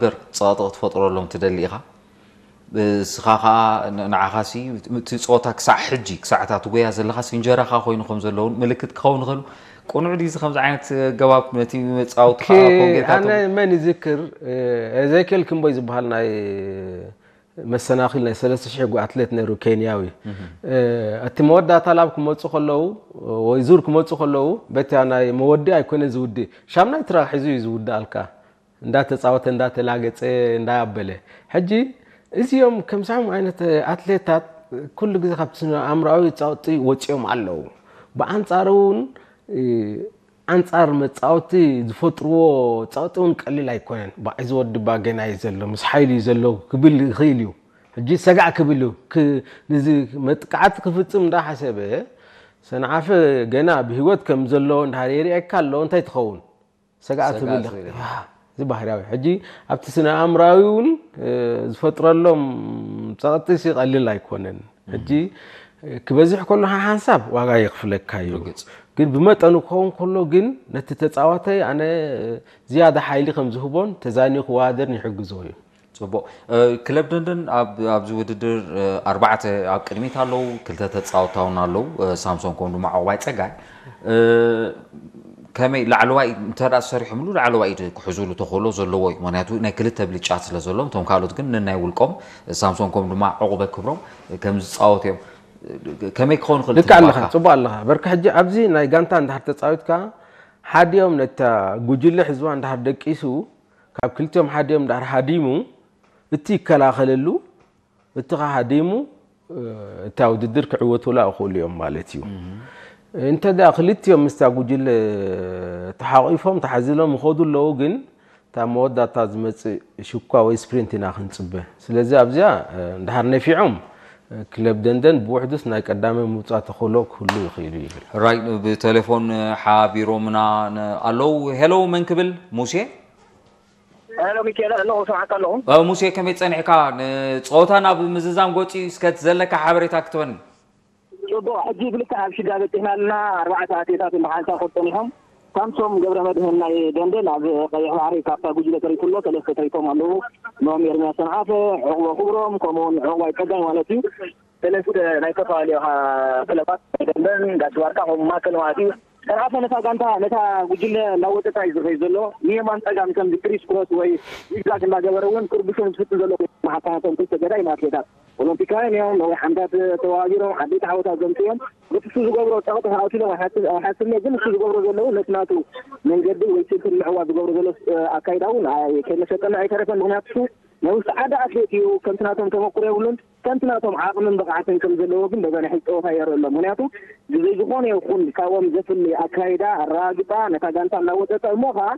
ነገር ጸቕጢ ክትፈጥረሎም ትደሊ ኢኻ። እስኻ ኸኣ ን-፣ ንዓኻሲ እቲ ጸወታ ክሳዕ ሕጂ፣ ክሳዕ እታ ትጎያ ዘለኻሲ እንጀራኻ ኮይኑ ከም ዘለውን ምልክት ክኸውን ይኽእል። ቅኑዕ ድዩ እዚ ከምዚ ዓይነት ኣገባብ ነቲ መጻወቲ ኦኬ፣ ከኣ ኮንጌታቶ ኣነ መን ይዝክር፣ እ፣ ኤዜኪኤል ክንቦይ ዝበሃል ናይ መሰናኺል ናይ ሰለስተ ሽሕ ኣትሌት ነይሩ፣ ኬንያዊ። እ፣ እቲ መወዳእታ ላብ ክመጹ ከለዉ ወይ ዙር ክመጹ ከለዉ፣ በቲ ናይ መወዲ ኣይኮነ ዝውዲ፣ ሻምናይ ትራክ ሒዙ እዩ ዝውድኣልካ። እንዳተጻወተ፣ እንዳተላገጸ፣ እንዳኣበለ። ሕጂ እዚኦም ከምዚኦም ዓይነት ኣትሌታት ኩሉ ግዜ ካብቲ ስነ ኣእምሮኣዊ ጸቕጢ ወጺኦም ኣለዉ። ብኣንጻሩ እውን፣ እ፣ ኣንጻር መጻወቲ ዝፈጥርዎ ጸቕጢ እውን ቀሊል ኣይኮነን። "ባዕ፣ እዚ ወዲ እባ ገና እዩ ዘሎ፣ ምስ ሓይሉ እዩ ዘሎ" ክብል ይኽእል እዩ። ሕጂ ሰጋዕ ክብል እዩ። ክ-፣ ንዚ መጥቃዕቲ ክፍጽም እንዳሓሰበ፣ ሰንዓፈ ገና ብህይወት ከም ዘሎ እንድሕር የርእየካ ኣሎ፣ እንታይ ትኸውን? ሰጋእ ሰጋእ ትብል ትብል ኢኻ። ኢኻ። ያ፣ እዚ ባህርያዊ። ሕጂ ኣብቲ ስነ ኣእምራዊ እውን፣ እ፣ ዝፈጥረሎም ጸቕጢ ሲ ቀሊል ኣይኮነን። ሕጂ፣ እ፣ ክበዝሕ ከሎ ሓ-፣ ሓንሳብ ዋጋ የኽፍለካ እዩ። ርግጽ። ግን ብመጠኑ ክኸውን ከሎ ግን ነቲ ተጻዋታይ ኣነ፣ እ፣ ዝያዳ ሓይሊ ከም ዝህቦን ተዛንዩ ክወዳደርን ይሕግዞ እዩ። ጽቡቕ። እ፣ ክለብ ደንደን ኣብ፣ ኣብዚ ውድድር፣ እ፣ ኣርባዕተ ኣብ ቅድሚት ኣለዉ፣ ክልተ ተጻወትቲ እውን ኣለዉ፣ እ፣ ሳምሶን ከምኡ ድማ ዕቑባይ ጸጋይ። እ፣ ከመይ ላዕለዋይ እንተ ደኣ ሰሪሖምሉ ላዕለዋይ ኢድ ክሕዙሉ ተኽእሎ ዘለዎ እዩ። ምኽንያቱ ናይ ክልተ ብልጫ ስለ ዘለዎም፣ እቶም ካልኦት ግን ነናይ ውልቆም፣ ሳምሶን ከምኡ ድማ ዕቑበ ክብሮም ከም ዝጻወቱ እዮም። ከመይ ክኸውን ይኽእል ልክዕ ኣለኻ፣ ትግባካ? ጽቡቕ ኣለኻ። በርካ ሕጂ ኣብዚ ናይ ጋንታ እንድሕር ተጻዊትካ፣ ሓዲኦም ነታ ጉጅለ ሕዝዋ እንድሕር ደቂሱ፣ ካብ ክልቲኦም ሓዲኦም እንድሕር ሃዲሙ፣ እቲ ይከላኸለሉ፣ እቲ ከኣ ሃዲሙ፣ እ፣ እታ ውድድር ክዕወቱላ ይኽእሉ እዮም ማለት እዩ። እንተ ደኣ ክልቲኦም ምስታ ጉጅለ ተሓቒፎም፣ ተሓዚሎም ይኸዱ ኣለዉ፣ ግን እታ መወዳእታ ዝመጽእ ሽኳ ወይ ስፕሪንት ኢና ክንጽበ። ስለዚ ኣብዚኣ፣ እ፣ እንድሕር ነፊዖም፣ እ፣ ክለብ ደንደን ብውሕዱስ ናይ ቀዳማይ ምውጻእ ተኽእሎ ክህሉ ይኽእል እዩ ይብል። ራይ ብቴሌፎን ሓቢሮምና ን-፣ ኣለዉ። ሄሎ፣ መን ክብል? ሙሴ? ሄሎ ሚካኤል፣ ኣለኹ፣ እሰምዓካ ኣለኹ። እ፣ ሙሴ፣ ከመይ ጸኒሕካ? ንጸወታ ናብ ምዝዛም ገጹ እስከ እቲ ዘለካ ሓበሬታ ክትበኒ። ጽቡቕ፣ ሕጂ ብልክዕ ኣብ ሽጋ በጺሕና ኣለና። ኣርባዕተ ኣትሌታት ብሓንሳብ ክወድቁ ጸኒሖም። ሳምሶም ገብረመድህን ናይ ደንደን ኣብ ቀይሕ ባሕሪ ካብታ ጉጅለ ተሪፉ ኣሎ፣ ሰለስተ ተሪፎም ኣለዉ። ኖም ኤርምያስ ሰንዓፈ፣ ዕቑበ ክብሮም፣ ከምኡውን ዕቑባይ ጸጋይ ማለት እዩ። ሰለስተ ናይ ዝተፈላለዩ፣ አ፣ ክለባት፣ ደንደን፣ ጋሽ ባርካ፣ ከምኡ ማእከል ማለት እዩ። ሰንዓፈ ነታ ጋንታ፣ ነታ ጉጅለ እናወጠጣ እዩ ዝኸይድ ዘሎ። ንየማን ጸጋም ከምዚ ክሪስ ክሮስ ወይ ዚግዛግ እናገበረ እውን ክርብሾም ዝፍትን ዘሎ ኮይኑ፣ መሓካናቶም ክልተ ገዳይም ኣትሌታት ኦሎምፒካውያን እዮም። ነዊሕ ዓመታት ተወዳዲሮም፣ ዓበይቲ ዓወታት ዘምፅኡ እዮም። በቲ እሱ ዝገብሮ ጸቕጢ ኣውቲሎም ኣይሓስብ-፣ ኣይሓስብን እየ፣ ግን እሱ ዝገብሮ ዘለዉ ነቲ ናቱ መንገዲ ወይ ስልቲ ንምዕዋት ዝገብሮ ዘሎ፣ እ፣ ኣካይዳ እውን ኣይ-፣ ከይመሰጠና ኣይተረፈን። ምኽንያቱ እሱ ናይ ውሽጢ ዓዲ ኣትሌት እዩ፣ ከምቲ ናቶም ተመኩሮ የብሉን። ከምቲ ናቶም ዓቕምን ብቕዓትን ከም ዘለዎ ግን በዛ ናይ ሕጂ ጸወታ የርኢ ኣሎ። ምኽንያቱ ብዘይ ዝኾነ ይኹን ካብኦም ዘፍሊ ኣካይዳ ኣረጋግጻ ነታ ጋንታ እናወጠጠ እሞ ኸኣ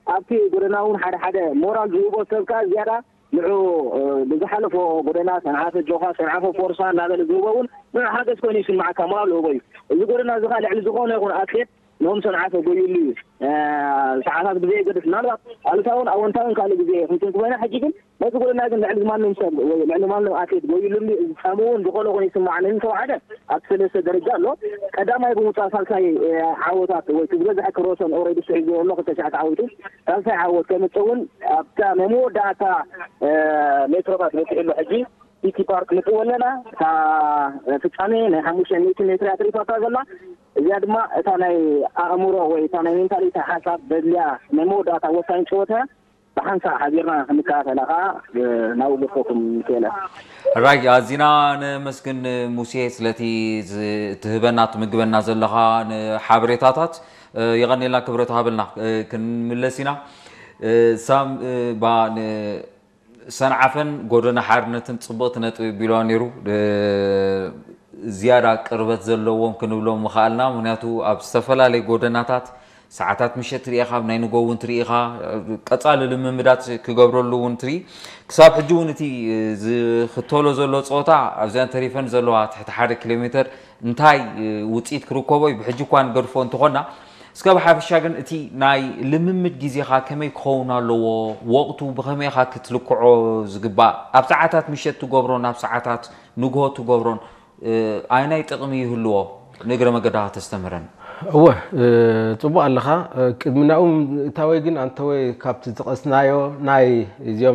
ኣብቲ ጎደና እውን ሓደ ሓደ ሞራል ዝህቦ ሰብ ከኣ ዝያዳ ንዑ፣ እ፣ ብዝሓለፎ ጎደና ሰንዓፈ ጆኻ፣ ሰንዓፈ ፎርሳ እናበለ ዝህቦ እውን ንዑ ሓገዝ ኮይኑ ይስምዓካ፣ ሞራል ዝህቦ እዩ። እዚ ጎደና እዚ ከኣ ልዕሊ ዝኾነ ይኹን ኣትሌት ንኦም ሰንዓፈ ጎይሉ እዩ። እ፣ ሰዓታት ብዘየገድስ ምናልባት ኣሉታውን ኣወንታውን ካልእ ግዜ ክንትን ክኾይና፣ ሕጂ ግን ነቲ ጎደና ግን ልዕሊ ማንም ሰብ ወይ ልዕሊ ማንም ኣትሌት ጎይሉሉ ዝጻምውን ዝኾነ ኾነ ይስምዓኒ። እንተወሓደ ኣብ ሰለስተ ደረጃ ኣሎ። ቀዳማይ ብምውጻእ ሳልሳይ፣ እ፣ ዓወታት ወይ እቲ ዝበዝሐ ክሮሶን ኦልሬዲ ስዒቡ ዘሎ ክልተ ሸሕ ተዓዊቱ። ሳልሳይ ዓወት ከምጽእ እውን ኣብታ ናይ መወዳእታ፣ እ፣ ሜትሮታት በጺሑ ኣሎ። ሕጂ ሲቲ ፓርክ ንጥው ኣለና። እታ ፍጻሜ ናይ ሓሙሽተ ሚእቲ ሜትር እያ ተሪፋታ ዘላ። እዚኣ ድማ እታ ናይ ኣእምሮ ወይ እታ ናይ ሜንታሊቲ ሓሳብ ዘድልያ ናይ መወዳእታ ወሳኝ ጨወታ እያ። ብሓንሳእ ሓቢርና ክንከታተላ ከኣ፣ እ፣ ናብኡ ገድፈኩም ንክእል። ራይ፣ ኣዚና ነመስግን ሙሴ ስለቲ ዝ-፣ ትህበና ትምግበና ዘለኻ ንሓበሬታታት። እ፣ የቐኔልና ክብረት ሃበልና። እ፣ ክንምለስ ኢና። እ፣ ሳም፣ እ፣ ባ ን-፣ ሰንዓፈን ጎደና ሓርነትን ጽብቕቲ ነጥቢ ቢልዋ ነይሩ። እ፣ ዝያዳ ቅርበት ዘለዎም ክንብሎም ምኽኣልና። ምኽንያቱ ኣብ ዝተፈላለየ ጎደናታት ሰዓታት ምሸት ትርኢ ኢኻ፣ ኣብ ናይ ንጎ እውን ትርኢ ኢኻ፣ ቀጻሊ ልምምዳት ክገብረሉ እውን ትርኢ። ክሳብ ሕጂ እውን እቲ ዝኽተሎ ዘሎ ጸወታ ኣብዚኣን ተሪፈን ዘለዋ ትሕቲ ሓደ ኪሎ ሜተር እንታይ ውጽኢት ክርከቦ እዩ፣ ብሕጂ እኳ ንገድፎ እንተኾና፣ እስከ ብሓፈሻ ግን እቲ ናይ ልምምድ ግዜኻ ከመይ ክኸውን ኣለዎ? ወቕቱ ብኸመይ ኢኻ ክትልክዖ ዝግባእ? ኣብ ሰዓታት ምሸት ትገብሮን ኣብ ሰዓታት ንግሆ ትገብሮን፣ እ፣ ኣየናይ ጥቕሚ ይህልዎ? ንእግረ መገዳኻ ተስተምህረን። እወ፣ ጽቡቕ ኣለኻ። ቅድሚ ናኡ እታወይ ግን፣ ኣንተወይ፣ ካብቲ ዝጠቐስናዮ ናይ እዚኦም